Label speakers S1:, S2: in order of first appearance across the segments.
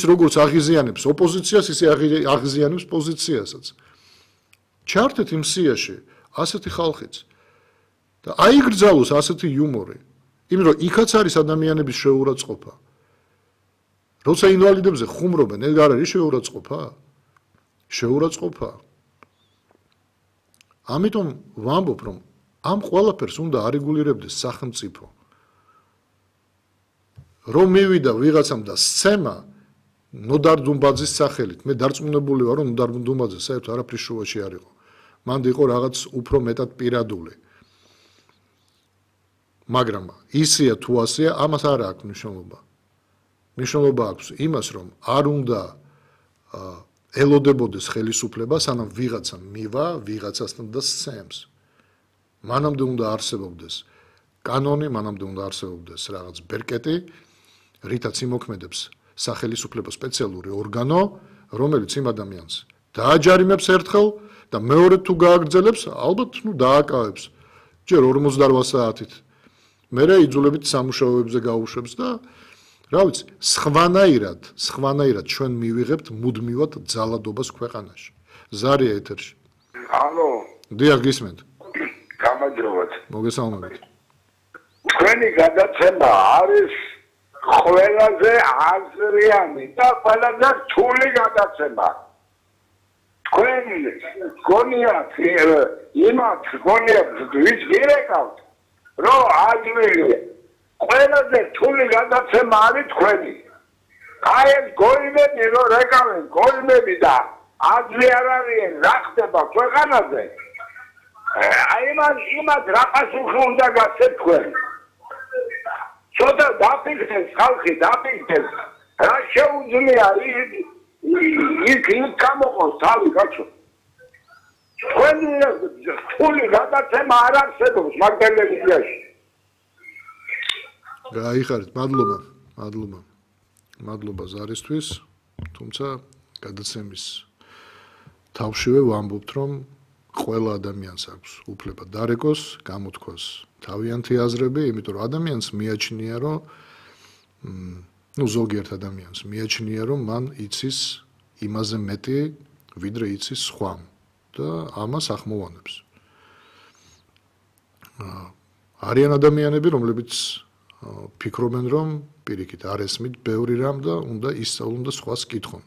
S1: როგორც აღიზიანებს ოპოზიციას, ისე აღიზიანებს პოზიციასაც. ჩართეთ იმ სიაში ასეთი ხალხიც და აიგრძალოს ასეთი იუმორი, იმიტომ რომ იქაც არის ადამიანების შეურაცხყოფა. როცა ინვალიდებზე ხუმრობენ, ეგ არ არის შეურაცხყოფა? შეურაცხყოფა. ამიტომ ვამბობ, რომ ამ ყველაფერს უნდა არეგულირებდეს სახელმწიფო. რომ მივიდა ვიღაცამ და სცემა ნოდარ დუმბაძის სახელით, მე დარწმუნებული ვარ, რომ ნოდარ დუმბაძე საერთოდ არაფრის შუაში არ იყო. მან იყო რაღაც უფრო მეტად პირადული. მაგრამ ისეა თუ ასეა, ამას არ აქვს მნიშვნელობა. მნიშვნელობა აქვს იმას, რომ არ უნდა ელოდებოდეს ხელისუფლება, სანამ ვიღაცა მივა ვიღაცასთან და სცემს. მანამდე უნდა არსებობდეს კანონი, მანამდე უნდა არსებობდეს რაღაც ბერკეტი, რითაც იმოქმედებს სახელისუფლება სპეციალური ორგანო, რომელიც იმ ადამიანს დააჯარიმებს ერთხელ და მეორედ თუ გააგრძელებს, ალბათ დააკავებს. ჯერ 48 საათით. მერე იძულებით სამუშაოებზე გაუშვებს და რა ვიცი, სხვანაირად ჩვენ მივიღებთ მუდმივად ძალადობას ქვეყანაში. ზარია ეთერში.
S2: ალო.
S1: დიახ, გისმენთ.
S2: გამარჯობათ.
S1: მოგესალმებით.
S2: თქვენი გადაცემა არის ყველაზე აზრიანი და ყველაზე რთული გადაცემა. თქვენ გონიათ იმათ გონიათ ვის გირეკავთ, რომ აძლევი ყველაზე რთული გადაცემა არის თქვენი. აი ეს გოიმები რომ რეკავენ, გოიმები და აზრი არ არის რა ხდება ქვეყანაზე. აი იმათ რა პასუხი უნდა გასცეთ თქვენ. ცოტა დაფიქრდეს ხალხი, დაფიქრდეს. რა შეუძლია იქ გამოყოს თავი კაცო. თქვენი რთული გადაცემა არ არსებობს მაგ ტელევიზიაში.
S1: გაიხარეთ, მადლობა ზარისთვის, თუმცა გადაცემის თავშივე ვამბობთ, რომ ყველა ადამიანს აქვს უფლება დარეკოს, გამოთქვას თავიანთი აზრები, იმიტომ რომ ადამიანს მიაჩნია, რომ ზოგიერთ ადამიანს მიაჩნია, რომ მან იცის იმაზე მეტი, ვიდრე იცის სხვამ და ამას ახმოვანებს. არიან ადამიანები, რომლებიც ფიქრობენ, რომ პირიქით არ ესმით ბევრი რამ და უნდა ისწავლონ და სხვას კითხონ.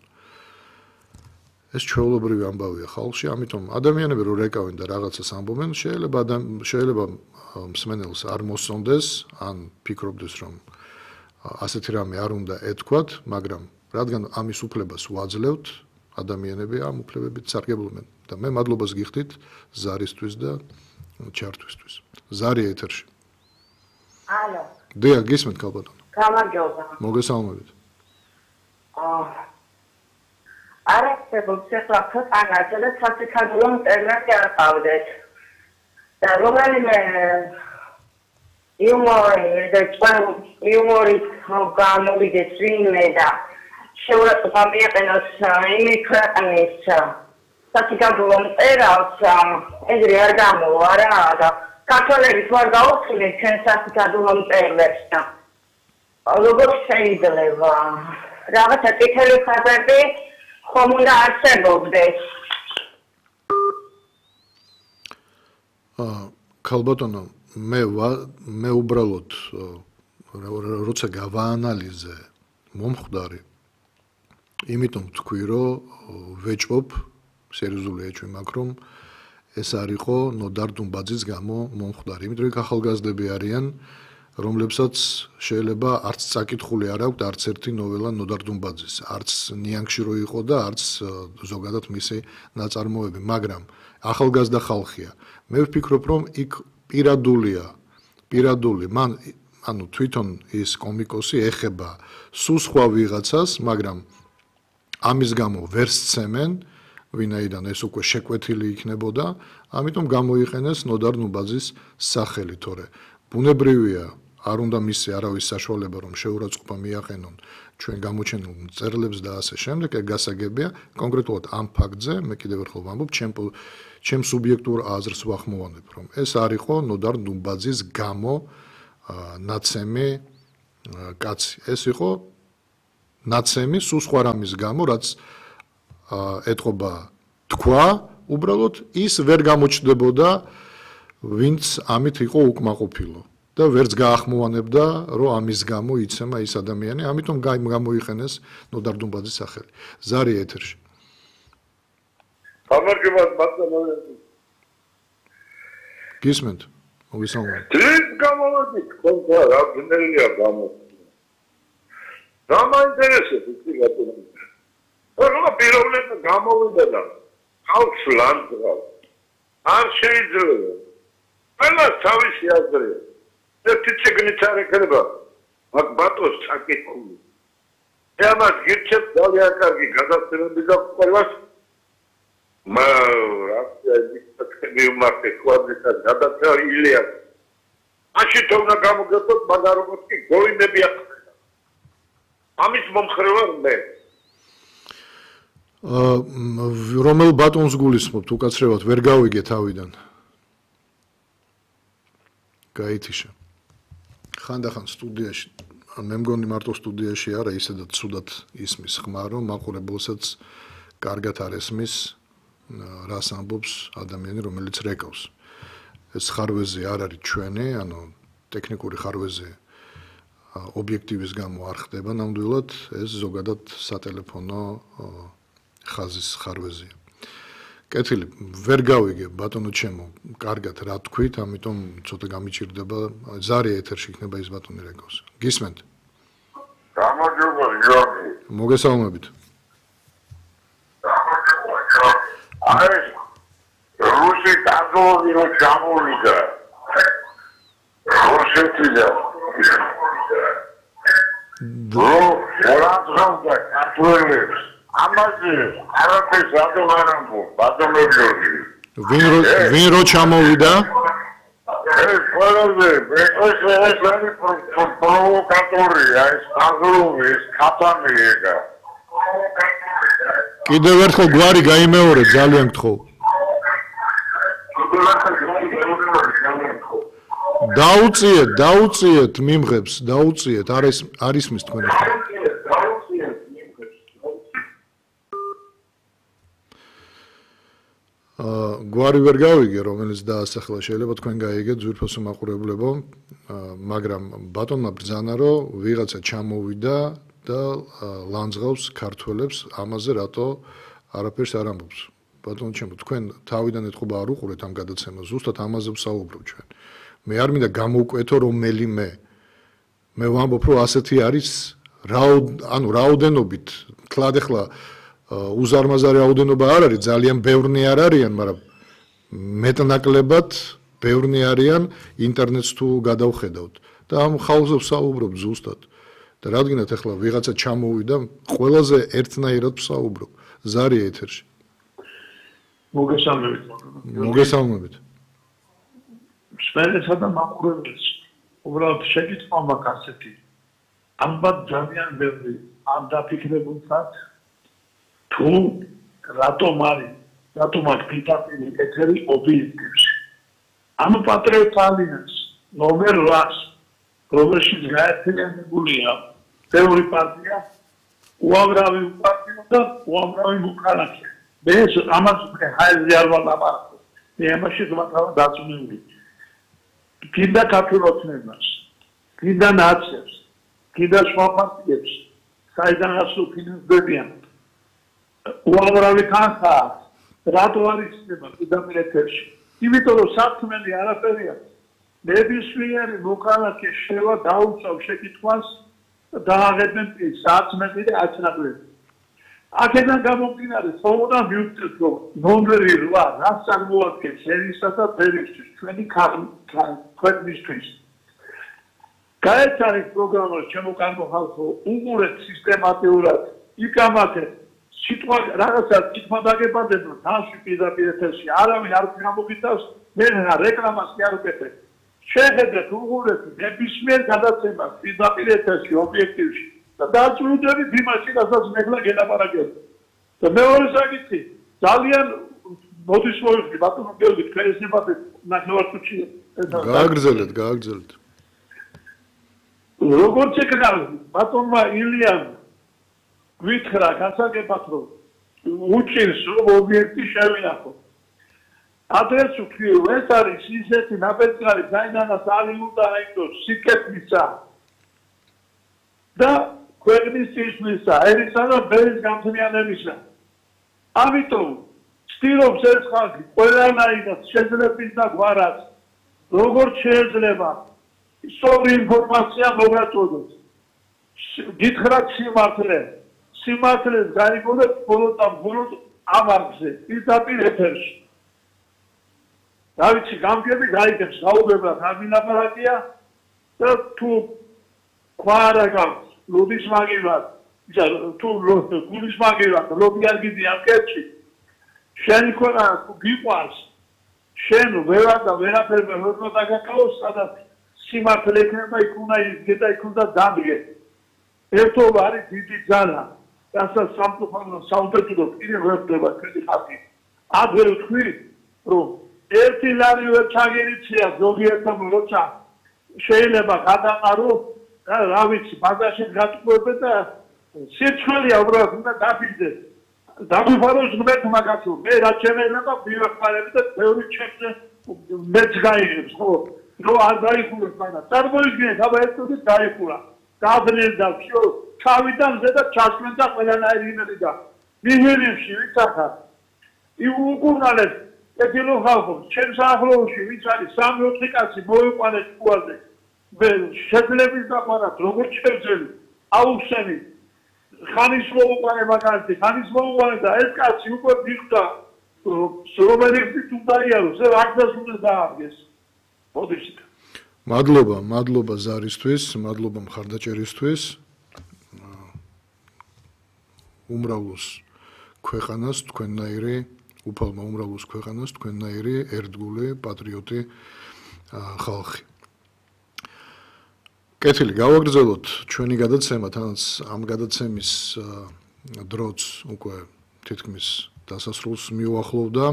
S1: ეს ჩვეულებრივი ამბავია ხალხში, ამიტომ ადამიანები რო რეკავენ და რაღაცას ამბობენ, შეიძლება მსმენელს არ მოსწონდეს, ან ფიქრობდეს, რომ ასეთი რამე არ უნდა ეთქვათ, მაგრამ რადგან ამის უფლებას ვაძლევთ, ადამიანები ამ უფლებებით სარგებლობენ და მე მადლობას გიხდით ზარისთვის და ჩართვისთვის. ზარია ეთერში.
S3: ალო.
S1: დიახ, გისმენთ ქალბატონო.
S3: გამარჯობა.
S1: მოგესალმებით.
S3: არასებობს ახლა ქვეყანაზე და სასიხადულო მწერლად გაყავდეთ. და რომელიმე იუმორით გამოვიდეს ვინმე და შეურაცხყოფა მიაყენოს იმი ქვეყნის სასიხადულო მწერალს, ეგრე არ გამოვა რა და ქართველები თუ არ გაუხილეთ ჩვენ სასიხადულო მწერლებს და როგორ შეიძლება რაღაცა წითელი ხაზები ხომ უნდა არსებობდეს.
S1: ქალბატონო, მე უბრალოდ როცა გავაანალიზე მომხვდარი, იმიტომ თქვი, რომ ვეჭვობ, სერიოზული ეჭვი მაქვს, რომ ეს არ იყო ნოდარ დუმბაძის გამო მომხვდარი, იმიტომ რომ ახალგაზრდები არიან, რომლებსაც შეიძლება არც წაკითხული არ აქვთ არც ერთი ნოველა ნოდარ დუმბაძის, არც ნიანგში რო იყო და არც ზოგადად მისი ნაწარმოები, მაგრამ ახალგაზრდა ხალხია. მე ვფიქრობ, რომ იქ პირადული, მან ანუ თვითონ ის კომიკოსი ეხება სულ სხვა ვიღაცას, მაგრამ ამის გამო ვერ სცემენ, ვინაიდან ეს უკვე შეკვეთილი იქნებოდა, ამიტომ გამოიყენეს ნოდარ დუმბაძის სახელი, თორე ბუნებრივია არ უნდა მისცე არავის საშუალება, რომ შეურაცხყოფა მიაყენონ ჩვენ გამოჩენილ მწერლებს და ასე შემდეგ, ეგ გასაგებია. კონკრეტულად ამ ფაქტზე მე კიდევ ერთხელ ვამბობ, ჩემ სუბიექტურ აზრს ვახმოვანებ, რომ ეს არ იყო ნოდარ დუმბაძის გამო ნაცემი კაცი. ეს იყო ნაცემი სულ სხვა რამის გამო, რაც ეთყობა თქვა, უბრალოდ ის ვერ გამოჩნდებოდა, ვინც ამით იყო უკმაყოფილო და ვერც გაახმოვანებდა, რომ ამის გამო იცემა ის ადამიანი, ამიტომ გამოიყენეს ნოდარ დუმბაძის სახელი. ზარი ეთერში.
S2: გამარჯობა ბატონო.
S1: გისმენთ? მოგესალმებით.
S2: დღეს გამოვადი, ხონდა რა ბნელია გამოსვლა. რა მაინტერესებს ის ბატონო? რა პიროვნებად გამოვიდა და ხალხს ლანდღა. არ შეიძლება. ყველა თავისი აზრია. ერთი ციგნით არ ეკრება. მაგ ბატონს საკითხული. ამას გირჩევთ ძალიან კარგი გადაცემები და ყველას მარტე კვადრატად გადაცემა ილია. მაშინ თორნა გამოგეთოთ მაგარ როგორც კი გოინები ახლა. ამის მომხრევა მე.
S1: რომელ ბატონს გულისხმობთ უკაცრევად ვერ გავიგე თავიდან. გაითიშა. ხანდახან სტუდიაში, მე მგონი მარტო სტუდიაში არა, ისედაც ცუდად ისმის ხმა, რომ მაყურებელსაც კარგად არ ესმის რას ამბობს ადამიანი, რომელიც რეკავს. ეს ხარვეზე არ არის ჩვენი, ანუ ტექნიკური ხარვეზე ობიექტივის გამო არ ხდება ნამდვილად, ეს ზოგადად სატელეფონო ხაზის ხარვეზია. კეთილი, ვერ გავიგე ბატონო ჩემო, კარგად რა თქვით, ამიტომ ცოტა გამიჭირდება, ზარი ეთერში იქნება ის ბატონი რეკავს. გისმენთ?
S2: გამარჯობა გიორგი.
S1: მოგესალმებით.
S2: აი რუსი კანონი რო ჩამოვიდა. რუსეთიდან. როაძრავდა კათოლიკებს. ამაზე არაფერს რატომ არ ამბობ, ბატონო გიორგი?
S1: ვინ რო ჩამოვიდა?
S2: ეს ყველაზე ეს არის პროვოკატორია, ეს აღროვი, ეს ქათამი ეგა.
S1: კიდევ ერთხელ გვარი გაიმეორე, ძალიან გთხოვ. დაუწიეთ მიმღებს, დაუწიეთ, არ ისმის თქვენი ხმა. გვარი ვერ გავიგე, რომელიც დაასახლა, შეიძლება თქვენ გაიგეთ ძვირფასო მაყურებლებო, მაგრამ ბატონმა ბრძანა, რომ ვიღაცა ჩამოვიდა და ლანძღავს ქართველებს, ამაზე რატო არაფერს არ ამბობს. ბატონო ჩემო, თქვენ თავიდან ეთყობა არ უყურეთ ამ გადაცემას, ზუსტად ამაზე ვსაუბრობ ჩვენ. მე არ მინდა გამოვკვეთო რომელიმე. მე ვამბობ, რომ ასეთი არის რაოდენობით, თლად ახლა უზარმაზარი რაოდენობა არ არის, ძალიან ბევრნი არ არიან, მაგრამ მეტნაკლებად ბევრნი არიან ინტერნეტს თუ გადავხედავთ და ამ ხალხზე ვსაუბრობ ზუსტად. და რადგანაც ახლა ვიღაცა ჩამოვიდა, ყველაზე ერთნაირად ვსაუბრობ. ზარი ეთერში.
S4: მოგესალმებით.
S1: მოგესალმებით.
S4: სპეცსა და მაყურებელს უბრალოდ შეკითხვა მაქვს ასეთი. ალბათ ძალიან ბევრი ამ დაფიქრებულსაც თუ რატომ აქვს პირდაპირი ეთერი ობიექტივში. ამ პატრიოტ ალიანს ნომერ 8, რომელშიც გაერთიანებულია ბევრი პარტია, უამრავი პარტია და უამრავი მოქალაქე. მე ამას ხაიზე არ ვალაპარაკო. მე ამაში ვაკრავ დაწუნებული. კიდე ქართულოცნებას, კიდე ნაციებს, კიდე სხვა პარტიებს, საიდანაც ფინანსდებიან. უამრავი თანხაა, რატო არ იქნება პირდაპირ ეთერში? იმიტომ რომ საქმელი არაფერია. ნებისმიერი მოქალაქე შევა დაუწევ შეკითხვას და აღებენ საათმეტი და აცნაკლები. აქედან გამომდინარე, თუმცა მივწერთ რომ ნომერი 8 რას წარმოადგენს შენისა და ფერისთვის, ჩვენი ქვეყნისთვის. გაერთიანეთ პროგრამას ჩემო კარგო ხალხო, უყურეთ სისტემატიურად, იკამათეთ სიტყვა რაღაცა თქმა დაგებადებო თავში პირდაპირ ეთერში არავინ არ გამოგიტავს მე რეკლამას კი არ ვკეთებ შეხედეთ უყურეთ ნებისმიერ გადაცემას პირდაპირ ეთერში ობიექტივში და დააჭირდებით იმაში რასაც მეკლა გელაპარაკებ და მეორე საკითხი ძალიან მოდის მოიხდი ბატონო გეორგი თქვენ ეს ნებათეთ ნახევარწუთში
S1: გააგრძელეთ
S4: როგორც ეკრა ბატონმა ილიამ გვითხრა გასაგებად რომ უჭირს რომ ობიექტი შევინახო. Adres ვთქვი, ეს არის ისეთი ნაბეჭდარი, საიდანაც ალი უნდა აიგდოს სიკეთისა და ქვეყნის წინსვლისა, ერისა და ბერის გამძლიანებისა. ამიტომ ცდილობს ეს ხალხი ყველანაირად შეძლებს და გვარად, როგორც შეიძლება სწორი ინფორმაცია მოგაწოდოს. გითხრათ სიმართლეს გაიგონებთ ბოლოს ამ არხზე, პირდაპირ ეთერში. დავიცი გამგები გაიგებს საუბრებლად ამინაპარატია და თუ ქვარა გაქვს ლობის მაგივრად თუ გულის მაგივრად ლობი არ გიდიან კეთში შენი ქონა გიყვარს შენ ვერაფერ ვერ დაგაკავოს სადაც სიმართლე იქნება იქ უნდა იზრდა იქ უნდა დადგე ერთობა არის დიდი ძალა რასაც სამწუხაროდ კიდევ ვერ ხდება ჩვენი ხალხი ადვე ვთქვი რომ ერთი ლარი ვერ ჩაგერიცხია ზოგიერთმა როცა შეიძლება გადაყარო და რა ვიცი ბაზარში გატყუებე და სიცხველია უბრალოდ უნდა დაფიძეს დაგვიფაროს ღმერთმა კაცო მე რა შეიძლება ვივახმარები და ბევრი ჩემზე მეც გაიგებს ხო რო არ დაიხუროს მაგრამ წარმოიდგინეთ აბა ერთობით დაიხურა დაძნეს და всё ჩავიდან ზედა ჩასვენ და ყველანაირი იმედი და მიჰერებში ვიცახა იუგურნალეს ეთილო ხალხო ჩემს ახლოში ვიც არის 3-4 კაცი მოიყვანეს ყუაზე მე შეძლებს დაყარათ როგორც შევძელი აუხსენი ხანის მოუყვანე მაგალითი ხანის მოუყვანე და ეს კაცი უკვე მიხვდა რომელიც უნდა იაროს აქაც უნდა დააგეს მოდიშით
S1: მადლობა ზარისთვის მადლობა მხარდაჭერისთვის უმრავლოს ქვეყანას თქვენნაირი უფალმა უმრავლოს ქვეყანას თქვენნაირი ერთგული პატრიოტი ხალხი. კეთილი გავაგრძელოთ ჩვენი გადაცემა, თანაც ამ გადაცემის დროც უკვე თითქმის დასასრულს მიუახლოვდა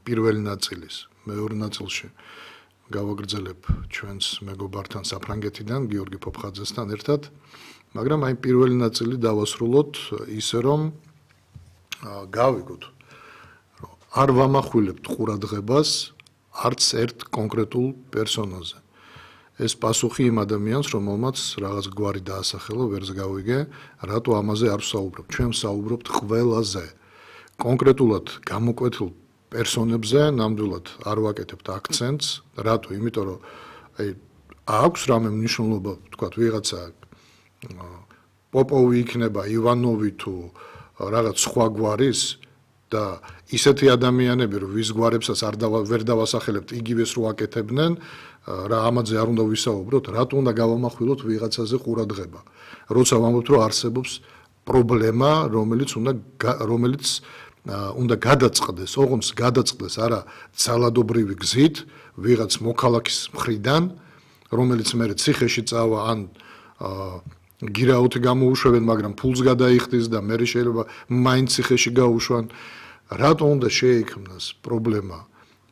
S1: პირველი ნაწილის. მეორე ნაწილში გავაგრძელებ ჩვენს მეგობართან საფრანგეთიდან გიორგი ფოფხაძესთან ერთად, მაგრამ აი პირველი ნაწილი დავასრულოთ ისე რომ გავიგოთ არ ვამახვილებთ ყურადღებას არც ერთ კონკრეტულ პერსონაჟზე. ეს პასუხი იმ ადამიანს, რომელმაც რაღაც გვარი დაასახელა, ვერც გავიგე, რატო ამაზე არ ვსაუბრობ. ჩვენ ვსაუბრობთ ყველაზე. კონკრეტულად გამოკვეთილ პერსონებზე ნამდვილად არ ვაკეთებთ აქცენტს, რატო? იმიტომ რომ აი აქვს რამე მნიშვნელობა, თქვათ, ვიღაცა პოპოვი იქნება, ივანოვი თუ რაღაც სხვა გვარის და ისეთი ადამიანები, რომ ვის გვარებსაც ვერ დავასახელებთ, იგივეს რო აკეთებდნენ, რა ამაზე არ უნდა ვისაუბროთ, რატო უნდა გავამახვილოთ ვიღაცაზე ყურადღება. როცა ვამბობთ, რომ არსებობს პრობლემა, რომელიც უნდა გადაწყდეს, ოღონდ გადაწყდეს არა ძალადობრივი გზით, ვიღაც მოქალაქის მხრიდან, რომელიც მე ციხეში წავა ან გირაუთი გამოუშვებენ, მაგრამ ფულს გადაიხდის და მე შეიძლება მაინც ციხეში გაუშვან. რატო უნდა შეექმნას პრობლემა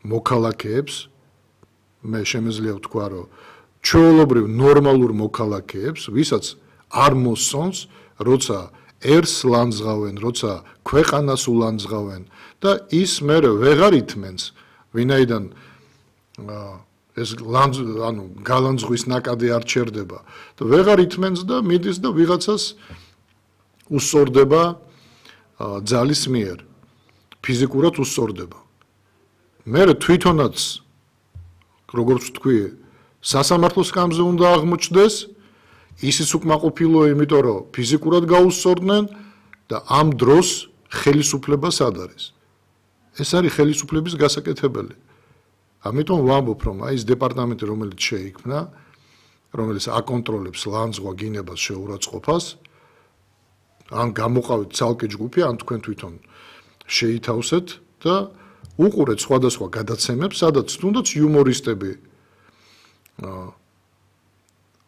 S1: მოქალაქეებს? მე შემიძლია ვთქვა, რომ ჩვეულებრივ ნორმალურ მოქალაქეებს, ვისაც არ მოსწონს, როცა ერს ლანძღავენ, როცა ქვეყანას ულანძღავენ და ის მე ვეღარ ითმენს, ვინაიდან ეს გალანძღვის ნაკადი არ ჩერდება და ვეღარ ითმენს და მიდის და ვიღაცას უსწორდება ძალის მიერ, ფიზიკურად უსწორდება. მე თვითონაც როგორც ვთქვი, სასამართლოს სკამზე უნდა აღმოჩნდეს, ისიც უკმაყოფილოა, იმიტომ რომ ფიზიკურად გაუსწორდნენ და ამ დროს ხელისუფლება სად არის? ეს არის ხელისუფლების გასაკეთებელი. ამიტომ ვამბობ, რომ აი ეს დეპარტამენტი, რომელიც შეიქმნა, რომელიც აკონტროლებს ლანძღვა გინებას შეურაცხყოფას, ან გამოყავით ცალკე ჯგუფი, ან თქვენ თვითონ შეითავსეთ და უყურეთ სხვადასხვა გადაცემებს, სადაც თუნდაც იუმორისტები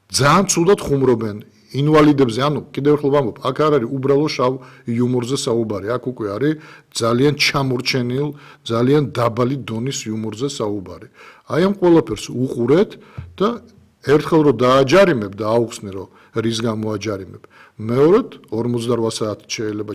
S1: ძალიან ცუდად ხუმრობენ ინვალიდებზე, ანუ კიდევ ერთხელ ვამბობ, აქ არ არის უბრალო შავ იუმორზე საუბარი, აქ უკვე არის ძალიან ჩამორჩენილ, ძალიან დაბალი დონის იუმორზე საუბარი. აი ამ ყველაფერს უყურეთ და ერთხელ რომ დააჯარიმებ და აუხსნე რომ რის გამო აჯარიმებ. მეორედ 48 საათი შეიძლება